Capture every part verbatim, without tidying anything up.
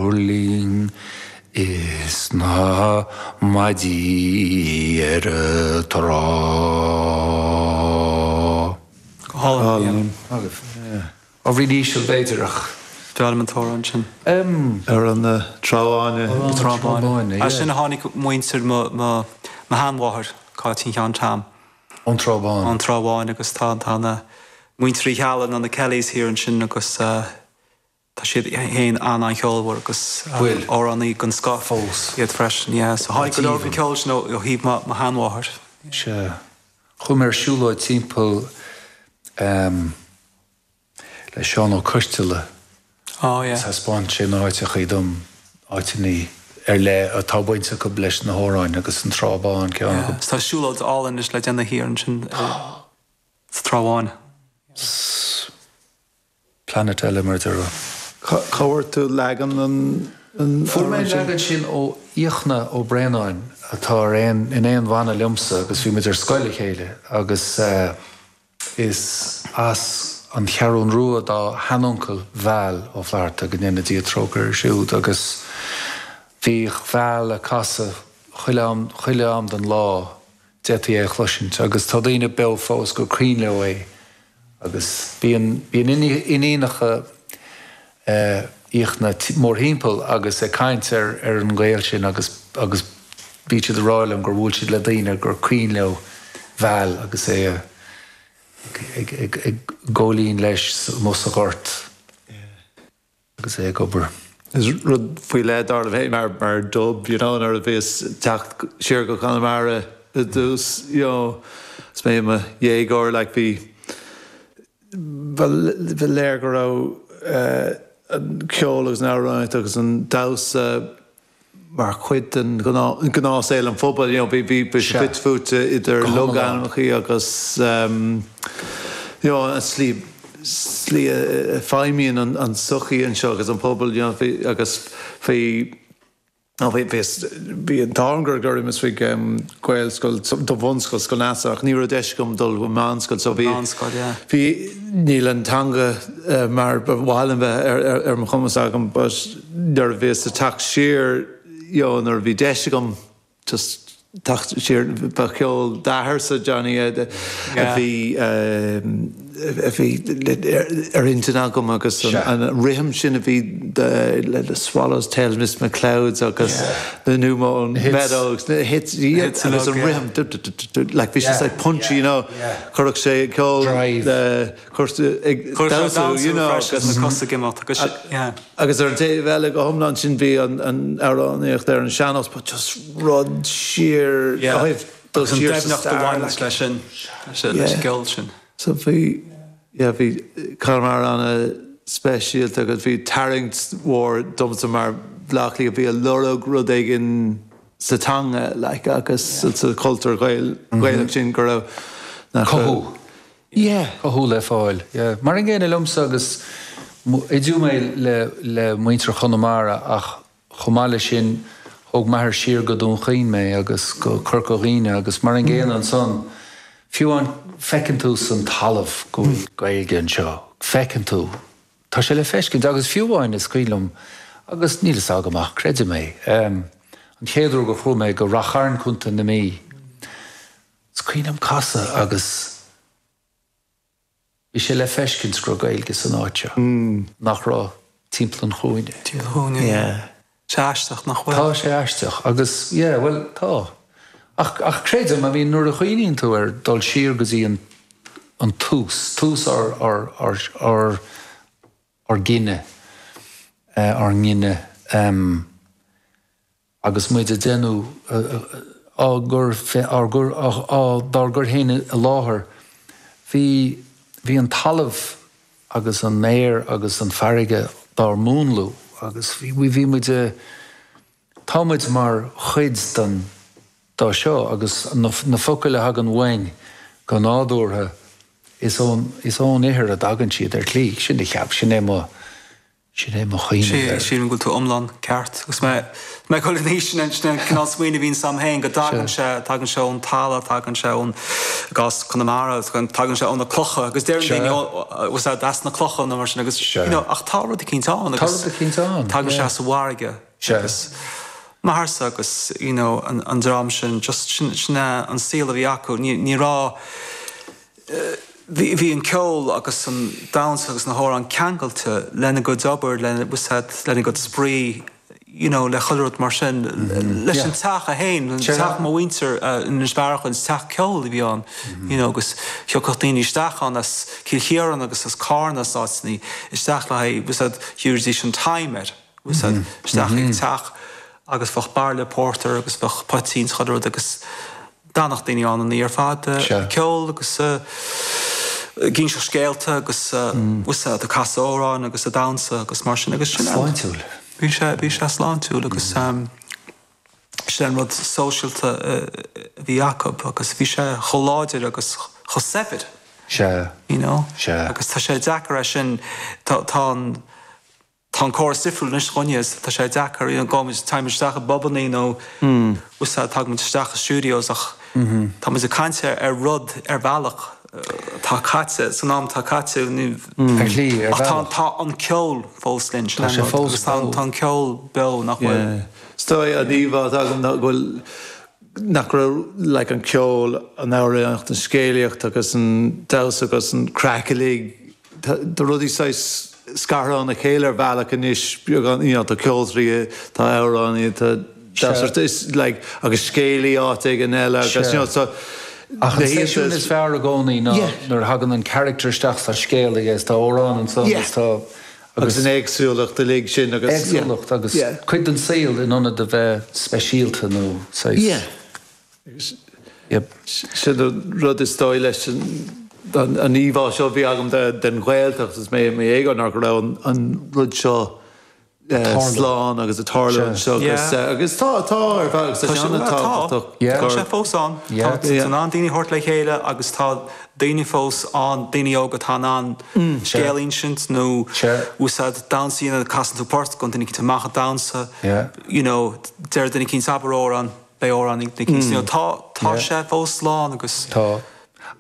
Thuirling is na maidí ar an trá. Go hálainn. Ábhairín íseal b'fhéidir ach. D'fhoghlaim an t-amhrán sin. Ar an Trá Bháine. Trá Bháine. As sin a tháinig muintir mo mo sheanmháthair, Cáitín Sheáin Tom. Ón Trá Bháin. Ón Trá Bháin agus tá tá na muintir Uí Cheallaigh nó na Kellys thiar ansin agus tá siad féin an-an-cheolmhar agus Bhfuil. amhránaí den scoth Fós. iad freisin. Yeah. So tháinig go leor den ceol sin ó ó thaobh mo mo sheanmháthair. Sea. Chuaigh mé ar siúlóid timpeall um, le Seán Ó Coisteala. Oh yeah. Thaispeáin sé na háiteachaí dom áiteanna ar leith atá baint acu leis na hamhráin agus an Trá Bhán ceann Yeah. acu. Tá siúlóid álainn anois le déanamh thiar ansin sa Trá Bháin. Planet eile mar deir. Cá bhfuair tú leagan an an Fuair mé amhrán sin? leagan sin ó Fhiachna Ó Braonáin atá ar aon in aon bhanna liomsa agus bhí muid ar scoil le chéile agus uh, is as an Cheathrú Rua dá sheanuncail Val Ó Flatharta go ndéana Dia trócaire air siúd agus bhí Val ag casadh chuile am chuile am den lá d'fhéadfaí é a chloisint agus tá daoine beo fós gur cuimhin leo é agus bíonn bíonn iníonacha uh, Fhiachna mórthimpeall agus ag caint ar ar an ghaol sin agus agus bhí siad ag rá liom gur bhuail siad le daoine gur cuimhin leo Val agus é a ag ag ag góilín leis amuigh sa ghort agus é ag obair. Is rud faoi leith dar bheith mar mar dub, you know, nuair a bhíos teacht siar go Conamara i dtús, you know, is mé mo dhéagóir like bhí ba léir go raibh uh, an ceol agus an amhránaíocht agus an damhsa mar chuid den ghnáthshaol an phobail, you know, bhí bhí bhí Sea. fite fuaite idir Go hiomlán. logainmneacha agus um, you know, an slí slí a feidhmíonn an, an sochaí anseo agus an pobal you know, bhí agus bhí No, bhí bhí bhí an t-ádh gur gur is bhí um, Gaelscoil do bhunscoil Scoil Neasa ach ní raibh deis agam dul go meánscoil so bhí Meánscoil, yeah. bhí níl an teanga uh, mar ba mhaith liom bheith ar, ar, ar mo chumas agam but nuair a bhíos ag teacht siar you know, nuair a bhí deis agam just teacht siar ba cheol d'athairsa Johnny a a Yeah. bhí um, a bhí ar intinn agam agus an, Sea. an rithim sin a bhí the, le the Swallows Tail Miss McClouds agus the New Mown Hits. Meadows the hits yeah, Hits agus an uilig, yeah. rithim du- du- du- du- du- like bhí Yeah, yeah. like punchy yeah, you know yeah. chuirfeadh sé ceol Drive. chuir ag Chuir sé damhsa, you know agus agus na cosa ag imeacht agus yeah. agus ar an taobh eile go hiomlán sin bhí an an amhránaíocht ar an sean-nós but just rud siar Yeah. ó thaobh dul Agus an siar sa doimhneacht a stair, bhain like. leis sin leis an Yeah. gceol sin. So bhí yeah, bhí Conamara an-speisialta agus bhí tarraingt mhór domsa mar Bhleá Cliathach bhí ag lorg rud éigin sa teanga like, agus sa cultúr Gael Gaelach sin go raibh nach raibh- Cothú. Yeah. Cothú le fáil. Yeah. Mar an gcéanna liomsa agus oideadh mé le, le muintir Chonamara ach chomh maith leis sin thóg m'athair siar go Dún Chaoin mé agus go Corca Dhuibhne agus mar an gcéanna ansan fiú an feiceann tú san talamh go bhfuil Gaeilge anseo. Feiceann tú. Tá sé le feiscint agus fiú amháin is cuimhin liom agus níl a fhios agam ach creidim é. Um, an chéad uair go chuaigh mé go Ráth Chairn Contae na Mí. Is cuimhin liom casadh agus bhí sé le feiscint go raibh Gaeilge san áit seo. Nach raibh timpeall an chúinne. Chúinne. Yeah. Sé aisteach nach bhfuil. Tá sé aisteach agus yeah, well tá. Ach, ach creidim a bhí nuair a chuimhníonn tú ar dul siar go dtí an, an tús, tús ár, ár, ár, ár, ár gcine, eh, ár ngine um, agus muid ag déanamh á gur ár gur á dár gcur féin i láthair bhí bhí an talamh agus an aer agus an farraige dár múnlú agus bhí bhí muid tá muid mar chuid den dá seo agus na, na focail a thagann uainn go nádúrtha is ón is ón ithir a dtagann siad ar shlí sin a cheap sin é mo Sin é mo chuimhne air. Sílim go bhfuil tú iomlán ceart. Agus mé mé ag dul in aois sin sin cineál smaoineamh a bhíonn agam féin go dtagann sé tagann sé ón talamh, tagann sé ón i gcás Chonamara, tagann sé ó na clocha agus deireann daoine was that as na clocha nó mar sin agus you know ach tá rud eicínt ann agus Tá rud eicínt ann, tagann sé as an bhfarraige agus m'athairse agus you know an an dream sin just sin sin é an saol a bhí acu. Ní ní raibh Bhí an ceol agus an damhsa agus na hamhráin ceangailte lena gcuid obair, lena lena gcuid spraoi, you know le chuile rud mar sin, leis an teach é féin, teach mo mhuintir in Inis Bearachain, is teach ceoil a bhí ann, you know agus thiocfadh daoine isteach ann as Cill Chiaráin agus as Carna as áiteanna isteach le haghaidh, bhfuil a fhios agat, thabharfaidís an time air. Bhfuil a fhios agat, isteach ag teach agus bheadh bairille pórtair agus bheadh poitín 's chuile rud agus d'fhanadh daoine ann an oíche ar fad ag ceol agus ag inseacht scéalta agus bhfuil a fhios agat ag casadh amhráin agus ag damhsa agus mar sin agus sin Sláintiúil. Bhí sé, bhí sé sláintiúil agus sin an rud sóisialta a bhí acu agus bhí sé chomh láidir agus chomh saibhir. Sea. You know? Sea. Agus tá sé deacair é sin, tá, tá an, Tá an córas difriúil anois dhúinne is tá sé deacair, you know, gabhaimid, téimid isteach i bpubannaí nó bhfuil a fhios agat, tagaimid isteach i studios ach tá muid ag caint ar rud ar bhealach atá caite, san am atá caite, ní, Ar shlí, ar ach tá, bhealach. tá an ceol fós linn, sin Tá an sé rud, fós agus tá, beo. tá an ceol beo, nach bhfuil? Yeah. Is dóigh an íomhá atá agam ná go bhfuil, nach raibh like an ceol, an amhránaíocht, an scéalaíocht agus an damhsa agus an craic uilig, tá rudaí saghas scartha óna chéile ar bhealach anois, beagán, you know, tá ceoltóirí, tá amhránaí, tá damhsóir, is like, agus scéalaí áit éigin eile agus, you know, so Ach an seisiún is fearr i gcónaí ná nuair a thagann an character isteach sa scéal agus tá amhrán ansan agus tá agus an éagsúlacht uilig sin agus éagsúlacht agus cuid den saol in ionad a bheith speisialta nó saghas. Yeah. Sin an rud is dóigh leis an íomhá seo a bhí agam den Ghaeltacht is mé i mo dhéagóir ná go raibh an rud seo slán agus ag tarlú anseo agus tá, tá ar feadh agus tá sé an-tábhachtach. Tá sé fós ann. Tá in ann daoine a thabhairt le chéile agus tá daoine fós ann, daoine óga atá in ann scéal a insint nó úsáid damhsa a dhéanamh, casann tú port, gabhann duine eicínt amach ag damhsa, you know, deir duine eicínt abair amhrán. Beidh amhrán ag duine eicínt. Tá, tá sé fós slán agus. Tá.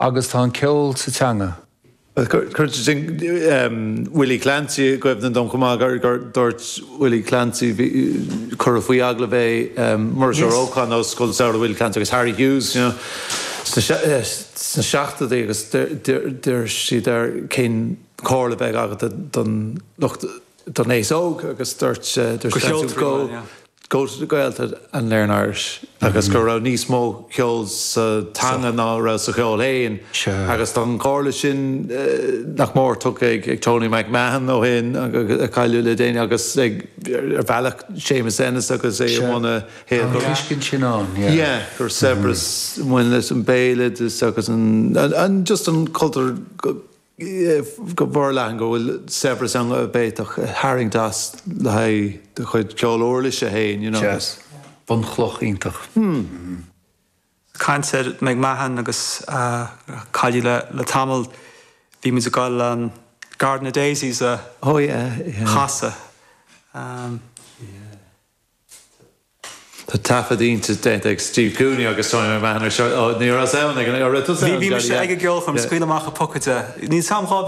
Agus tá an ceol sa teanga. Cuireann sé sin Willie Clancy i gcuimhne dom chomh maith, gur gur dúirt Willie Clancy, bhí, cuireadh faoi agallamh é, Muiris Ó Rócháin ó Scoil Samhraidh Willie Clancy agus Harry Hughes, you know, sna sna seachtóidí agus d'iarr siad air cén chomhairle a bheadh agat don lucht, don aos óg agus dúirt dúirt Clancy go Go to the Gaeltacht and learn Irish agus go raibh níos mó ceoil sa teanga ná a raibh sa cheol féin agus tá an chomhairle sin nach mór tugtha ag Tony McMahon ó shin, a cailleadh le déanaí, agus ag, ar bhealach, Séamus Ennis agus é i mbun a Tá an tuiscint sin ann, yeah. Yeah, gur saibhreas a bhain leis an béaloideas agus an, just an cultúr go forleathan go bhfuil saibhreas ann a bhféadfadh tarraingt as le haghaidh do chuid ceol uirlise féin, you know. Yes. Bunchloch iontach. Hmm. Caint ar McMahon agus a cailleadh le tamall, bhí muid ag dul an Garden of Daisies a Oh yeah, yeah. chasadh. Yeah. Tá taifead iontach déanta ag Steve Cooney agus Tony McMahon ar seo. Ó, ní raibh ann ag an, raibh tusa Bhí, ann, bhí mise yeah. ag an gceolchoirm, scaoil amach an pocaide. Níl 's a'm dhá